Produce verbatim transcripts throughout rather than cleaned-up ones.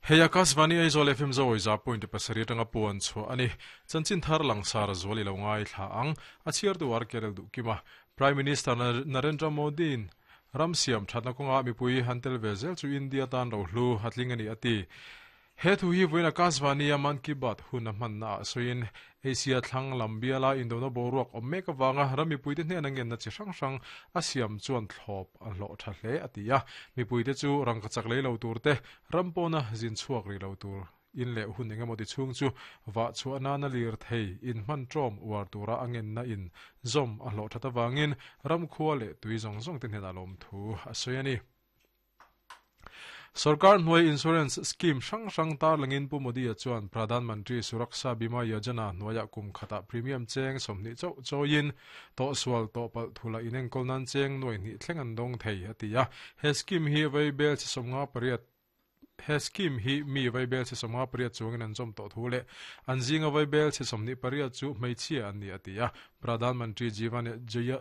Hei Akashvani Aizawl F M Zawi za point pasarih atanga puan chhuah a ni. Chanchin thar langsar zual i lo ngai thla ang. A chhiartu ar Kerel Duhkima. Prime Minister Narendra Modi in ram siam thatna kawnga mipui han tel ve zel chu India tan ro hlu hatling a ni a ti. He thu hi vawiin Akashvani a Mann Ki Baat hun a hmanna ah sawiin Asia thlang lam biala indona boruak awm mek awanga ram mipuite hnena ngenna chi hrang hrang a siam chuan thlawp a hlawh tha hle a ti a. Mipuite chu rangka chak lei lo tur te ram pawna zin chhuak ri lo tur in leh hun engemaw ti chhung chu wa chhuah nana lir thei in hman tawm uar tura a ngenna in zawm a hlawh that awangin ram khua leh tui zawng zawng te hnena lawm thu a sawi a ni. Sarkar hnuai insurance scheme hrang hrang tar langin Pu Modi a chuan Pradhan Mantri Suraksha Bima Yojana hnuaia kum khata premium cheng sawmhnih chauh chawiin tawh sual tawh palh thula inenkawl nan cheng nuai hnih thleng an dawng thei a ti a. He scheme hi vaibel chi sawmnga pariat he scheme hi mi vaibel chi sawmnga pariat chuangin an zawm tawh thu leh an zinga vaibel chi sawmhnih pariat chu hmeichhia an ni a ti a. Pradhan Mantri Jeevan Jaya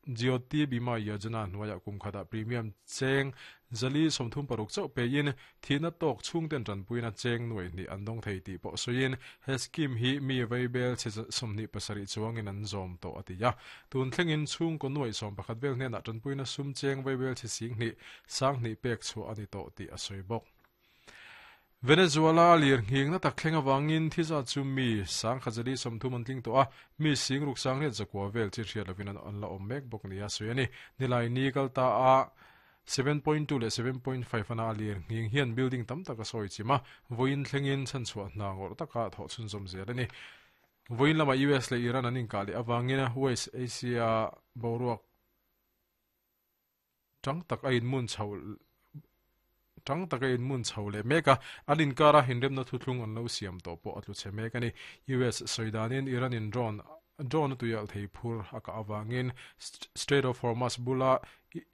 Jyoti Bima Yojana hnuaia kum khata premium cheng zali sawmthum paruk chauh pe in thina tawk chhung ten tanpuina cheng nuai hnih an dawng thei tih pawh sawiin he scheme hi mi vaibel chi sawmhnih pasarih chuangin an zawm tawh a ti a. Tun thlengin chhung kaw nuai sawm pakhat vel hnenah tanpuina sum cheng vaibel chi sing hnih sang hnih pek chhuah a ni tawh tih a sawi bawk. Venezuela lir nghing na tak thleng awangin thiza chu mi sang khazali sawmthum an tling tawh a, mi sing ruk sang riat zakua vel chi hriat lovin an an la awm mek bawk ni a sawi a ni. Nilai ni kal ta a seven point two leh seven point five ana a lir nghing hian building tam tak a sawi chima vawiin thlengin chhan chhuah hna ngawrh taka thawh chhun zawm zel a ni. Vawiin lama U S leh Iran an inkah leh awangin West Asia boruak tang tak a inmun chho tang taka in mun chho leh mek a, an inkara hinremna thuthlung an lo siam tawh pawh a tlu chhe mek a ni. U S sawidanin Iran in drone drone tuial thei phur a ka awangin Strait of Hormuz bula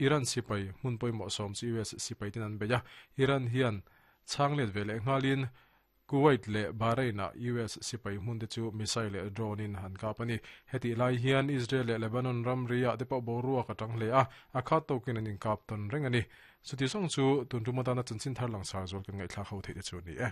Iran sipai hmun pawimawh sawm chu U S sipai ten an bei a. Iran hian chhanglet ve leh nghalin Kuwait leh Bahrain a U S sipai hmun te chu missile leh drone in han kap a ni. Heti lai hian Israel leh Lebanon ram ria te pawh boruak atang hle a, a khat tawkin an inkap tawn reng a ni. Chuti zawng chu tun tum atana chanchin thar langsar zual kan ngaihthlak ho theih te chu ni e.